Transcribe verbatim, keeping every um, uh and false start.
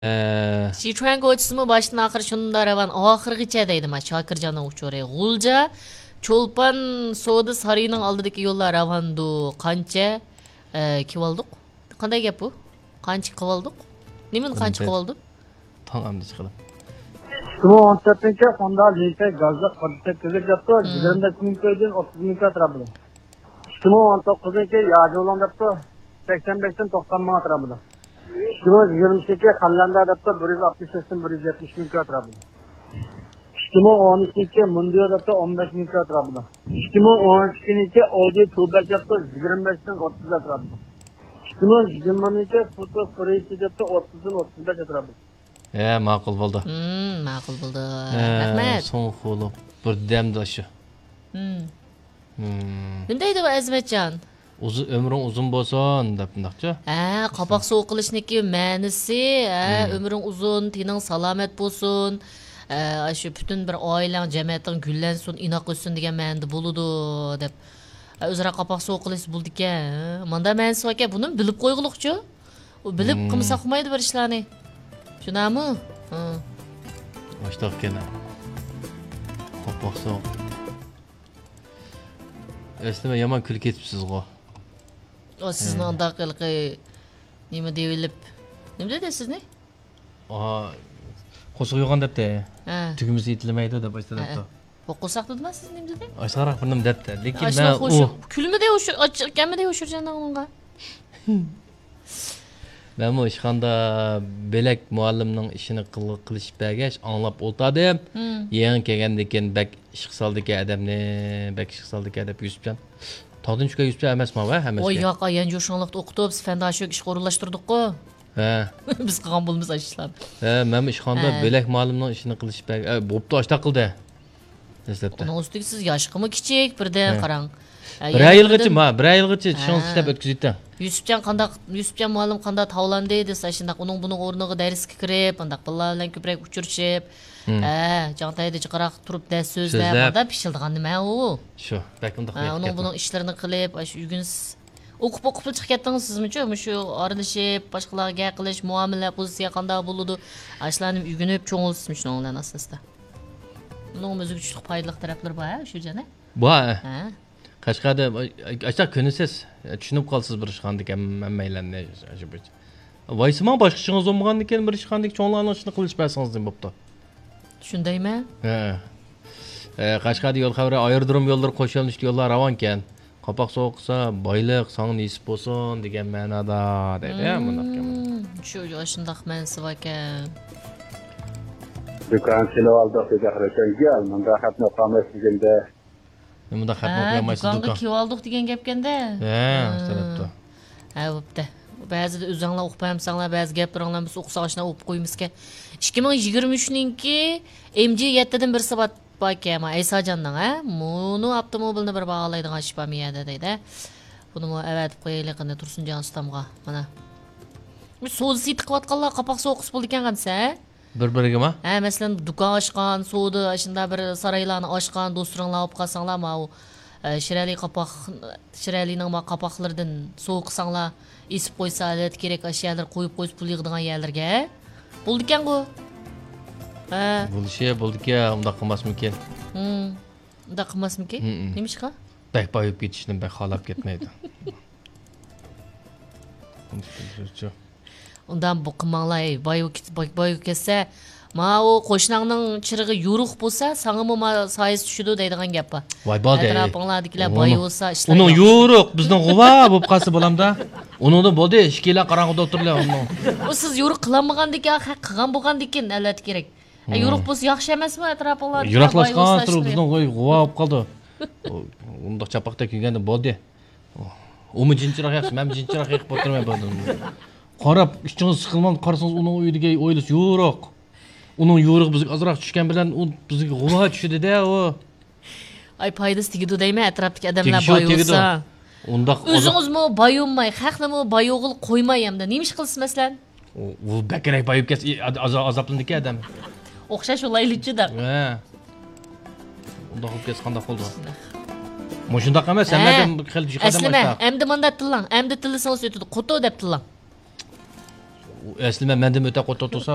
ئە، شىچۈەن كوچىسىمۇ باشتىن ئاخىر شۇنداق راۋان، ئاخىرغىچە دەيدۇ ما شاكىرجاننىڭ ئۇچۇرى. غۇلجا، چولپان سودا سارىيىنىڭ ئالدىدىكى يوللار راۋاندۇ. قانچە، ئە، كىۋالدۇق؟ قانداق گەپ بۇ؟ قانچە قىۋالدۇق؟ نېمىنى قانچە قىۋالدۇق؟ تاڭ ئەمدى چىقىدۇ. ئىككى مىڭ ئون تۆتىنچى خوندا لىڭكەي گازلىق قىرىق سەككىز دەپتۇ، يىگىرمە بەش مىڭ كويدىن ئوتتۇز مىڭ كوي ئەتراپىدا. ئىككى مىڭ ئون توققۇزىنچى ياجۇلۇڭ دەپتۇ، سەكسەن بەشتىن توقسان مىڭ ئەتراپىدا. ئىككى مىڭ يىگىرمە ئىككى خەنلەندە دەپتۇ، بىر يۈز ئاتمىش بەشتىن بىر يۈز يەتمىش مىڭ كوي ئەتراپىدا. ئىككى مىڭ ئون ئۈچىنچى مۇندىيو دەپتۇ، ئون بەش مىڭ كوي ئەتراپىدا. ئىككى مىڭ ئون ئىككىنچى ئودى تۇبەك دەپتۇ، يىگىرمە بەشتىن ئوتتۇز ئەتراپىدا. ئىككى مىڭ يىگىرمىنچى فوتو قۇرۇلۇشى دەپتۇ، ئوتتۇزدىن ئوتتۇز بەش ئەتراپىدا. ھە، ماقۇل بولدى. ھىم، ماقۇل بولدى. ھە، رەھمەت. سوڭ خولۇپ بىردەمدە شۇ. ھىم. ھىم. نېمە دەيدۇ ئۇ ئەزىمەتجان؟ ئۇزۇ-، ئۆمرۈڭ ئۇزۇن بولسۇن دەپ مۇنداقچۇ؟ ھە، قاپاق سوۋغا قىلىشنىڭكى مەنىسى، ھە، ھىم. ئۆمرۈڭ ئۇزۇن، تېنىڭ سالامەت بولسۇن، ھە، شۇ پۈتۈن بىر ئائىلەڭ، جەمەتىڭ گۈللەنسۇن، ئىناق ئۆتسۇن دېگەن مەنىدە بولىدۇ دەپ. ھە، ئۆزئارا قاپاق سوۋغا قىلىش بولىدىكەن. ھە، ماندا مەنىسى باركەن، بۇنىمۇ بىلىپ قويغۇلۇقچۇ. ئۇ بىلىپ ھىم. قىلمىسا ئۇقمايدۇ بىر ئىشلارنى. شۇنداقمۇ؟ ھە. ئاشتاق ئىكەن. قاپاق سوغۇق. ئەسلىمە يامان كۈلۈپ كېتىپسىزغۇ. ئۇ سىزنى ھە. ئانداق ھېلىقى نېمە دېۋىلىپ. نېمە دېدى سىزنى؟ ئاھا، قورسىقى يوغان دەپتۇ. ھە. تۈگمىسى يېتىلمەيدۇ دەپ ئاشتا ھە، دەپتۇ. ھە. قورساق دېدىما سىز نېمە دېدى؟ ئاشۇراق بىر نېمە دەپتۇ. لېكىن مەن ئۇ كۈلمىدى، ئاچچىق ئىكەنمىدى ئۇ شۇرجاننىڭ ئۇنىڭغا. مەنمۇ ئىشخانىدا بۆلەك مۇئەللىمنىڭ ئىشىنى قىل-، قىلىشىپ بەرگەچ ئاڭلاپ ئولتۇردۇم. ھىم. يېڭى كەلگەندىكىن بەك ئىشقا سالىدىكەن ئادەمنى، بەك ئىشقا سالىدىكەن دەپ يۈسۈپجان. تاغدىن چۈشكەن يۈسۈپجان ئەمەسما ۋە ھەممىسىگە؟ ۋاي ياق، ئايان جوشۇڭلۇقتا ئوقۇتۇپ، سىز فەنداشۆك ئىشقا ئورۇنلاشتۇردۇققۇ. ھە. بىز قىلغان بولىمىز ئاشۇ ئىشلارنى. ھە، مەنمۇ ئىشخانىدا ھە. بۆلەك مۇئەللىمنىڭ ئىشىنى قىلىشىپ بەرگەچ، ئە، بوپتۇ، ئاشتاق قىلدى. دەسلەپتە. ئۇنىڭ ئۈستىگە سىز ياشقىمۇ كىچىك بىردىن ھە. قاراڭ. ھە، بىر يەنە ئاي ئىلغىچە، بىردىن ما، بىر ئاي ئىلغىچە چىشىڭىزنى ھە. ئىشلەپ ئۆتكۈزۈۋېتىڭ. يۈسۈپجان قانداق، يۈسۈپجان مۇئەللىم قانداق تاۋلاندى دېسە، شۇنداق ئۇنىڭ بۇنىڭ ئورنىغا دەرسكە كىرىپ، ئانداق بالىلار بىلەن كۆپرەك ئۇچرىشىپ، ھىم. ھە، جاڭتايدا جىقراق تۇرۇپ دەرس سۆزلەپ، سۆزلەپ. مانداق پىشىلدىغان نېمە ئۇ؟ شۇ، بەك ئۇنداق ھە، نىيەت ئۇنىڭ گەپمۇ. بۇنىڭ ئىشلىرىنى قىلىپ، ئاشۇ ئۆگىنىسىز. ئوقۇپ، ئوقۇپلا چىقىپ كەتتىڭىز سىزمۇچۇ؟ مۇشۇ ئارىلىشىپ، باشقىلارغا گەپ قىلىش، مۇئامىلە، پوزىتسىيە قانداق بولىدۇ؟ ئاشۇلارنى ئۆگىنىپ، چوڭ بولىسىز مۇشۇنىڭ بىلەن ئاستا-ئاستا. ئۇنىڭ ئۆزىگە چۈشلۈك پايدىلىق تەرەپلىرى بار، ھە، شۇ جەنە؟ بار. ھە. قەشقەردە، ئاشۇنداق كۆنىسىز، چۈشىنىپ قالىسىز بىر ئىشخانىدىكى ھەم-، ھەممەيلەننى. ۋايسىماڭ باشقا ئىشىڭىز بولمىغاندىكىن بىر ئىشخانىدىكى چوڭلارنىڭ ئىشىنى قىلىشىپ بەرسىڭىز نېمە بوپتۇ؟ شۇندايمەن. ھە. ئە، قەشقەردە يول خەۋىرى، ئايرودروم يوللىرى، قوش يۆنىلىشلىك يوللار راۋانكەن. قاپاق سوغۇق قىلسا، بايلىق ساڭا نېسىپ بولسۇن دېگەن مەنىدا دەيدۇ، ھە، مۇنداق گەپ. مم، شۇ، شۇنداق مەنىسى باركەن. دۇكان سېلىۋالدۇق دېدى، قارىساڭ، گەل، مۇنداق خەتنى ئوقۇيالمايسىز دېگەندە. مۇنداق خەتنى ھە، ئوقۇيالمايسىز، دۇكانغا دۇكان. كېلىۋالدۇق دېگەن گەپكەندە. ھە، ھە. شۇ تەرەپتە. ھە، بوپتۇ. بەزىدە ئۆزۈڭلار ئوقۇپ بەرمىسەڭلار، بەزى گەپلىرىڭلارنى بىز ئوقۇساق، ئاشۇنداق ئوقۇپ قويىمىزكەن. ئىككى مىڭ يىگىرمە ئۈچنىڭكى ئېم جى يەتتىدىن بىرسى بار. باركەن، ئەيساجاننىڭ، ھە؟ مۇنۇ ئاپتوموبىلنى بىر باھالايدىغان ئىش بارمۇ يەردە دەيدۇ، ھە؟ بۇنىمۇ ئەۋەتىپ قويايلى قېنى تۇرسۇنجان ئۇستامغا، مانا. سودا سېتىق قىلىۋاتقانلار قاپاق سوغۇق قىلسا بولىدىكەن قانچە، ھە؟ بىر-بىرىگىمۇ؟ ھە، مەسىلەن، دۇكان ئاچقان، سودا، ئاشۇنداق بىر سارايلارنى ئاچقان دوستلىرىڭلار بولۇپ قالساڭلار، ماۋۇ، ئە، شىرئەلى قاپاق، شىرئەلىنىڭ ما قاپاقلىرىدىن سوغۇق قىلساڭلار، ئېسىپ قويسا، ئەلۋەتتە كېرەك، ئاشۇ يەرلەرگە قويۇپ قويسا پۇل يىغىدىغان يەرلەرگە. بولىدىكەنغۇ. ھە. بولۇشى بولىدىكەن، ئۇنداق قىلماسمىكىن؟ ھىم. ئۇنداق قىلماسمىكىن؟ ھىم. نېمىشقا؟ بەك بايىپ كېتىشنى بەك خالاپ كەتمەيدۇ. ئۇنداق بۇ قىلماڭلار، ھەي، بايىپ كېت-، باي-، بايىپ كەتسە، ماۋۇ قوشناڭنىڭ چىرىغى يورۇق بولسا، ساڭىمۇ ما سايىسى چۈشىدۇ دەيدىغان گەپ بار. ۋاي بالدى. ئەتراپىڭلاردىكىلەر ئۇنىڭ، بايىۋالسا، ئىشلار ئۇنىڭ ياخشى. يورۇق، بىزنىڭ غۇۋا بولۇپ قالسا بولامدا. ئۇنىڭدىن بولدى، ئىككىيلەن قاراڭغۇدا ئولتۇرىلى ئۇنىڭ. ئۇ سىز يورۇق قىلالمىغاندىكىن، ھە، قىلغان بولغاندىكىن، ئەلۋەتتە كېرەك. ئە، ھىم. يورۇق بولسا ياخشى ئەمەسمۇ ئەتراپىڭلاردا؟ يىراقلاشقان بايىۋالسا تۇرۇپ ئىشلار بىزنىڭ غۇۋا بولۇپ قالدى. ئۇ، ئۇنداق چاپاقتەك كىيگەندە بولدى. ئۇمۇ جىنچىراق ياقسا، مەنمۇ جىنچىراق يېقىپ ئولتۇرىمەن بۇ. قاراپ، ئىچىڭىز سىقىلماي قارىسىڭىز، ئۇنىڭ ئۆيىدىكى ئويلىسا يورۇق. ئۇنىڭ يورۇقى بىزگە ئازراق چۈشكەن بىلەن، ئۇ بىزگە غۇۋا چۈشىدۇ-دە، ئۇ. ئاي، پايدىسى تېگىدۇ دەيمەن، ئەتراپتىكى ئادەملەر تېگىشى باي تېگىدۇ. بولسا. ئۇنداق، ئۇنداق. ئۆزىڭىزمۇ باي بولماي، خەقنىمۇ باي بولغىلى قويماي ئەمدى. نېمە ئىش قىلىسىز، مەسىلەن؟ ئۇ، ئۇ بەكرەك بايىپ كەتسە، ئى، ئاز-، ئاز-، ئازابلىنىدىكەن ئادەم. ئوخشاش بولايلىچۇ دەپ. ھە. ئۇنداق بولۇپ كەتسە قانداق بولىدۇ؟ مۇشۇنداق ئەمەس، ھە. ھەممە ئادەم خېلى جىق ئادەم ئەسلىمە، ئاشۇنداق. ئەمدى مانداق تىللاڭ، ئەمدى تىللىسىڭىز ئۆتىدۇ. قوتۇ دەپ تىللاڭ. ئەسلى مەن مەندىن ئۆتە قوتۇق تۇرسا،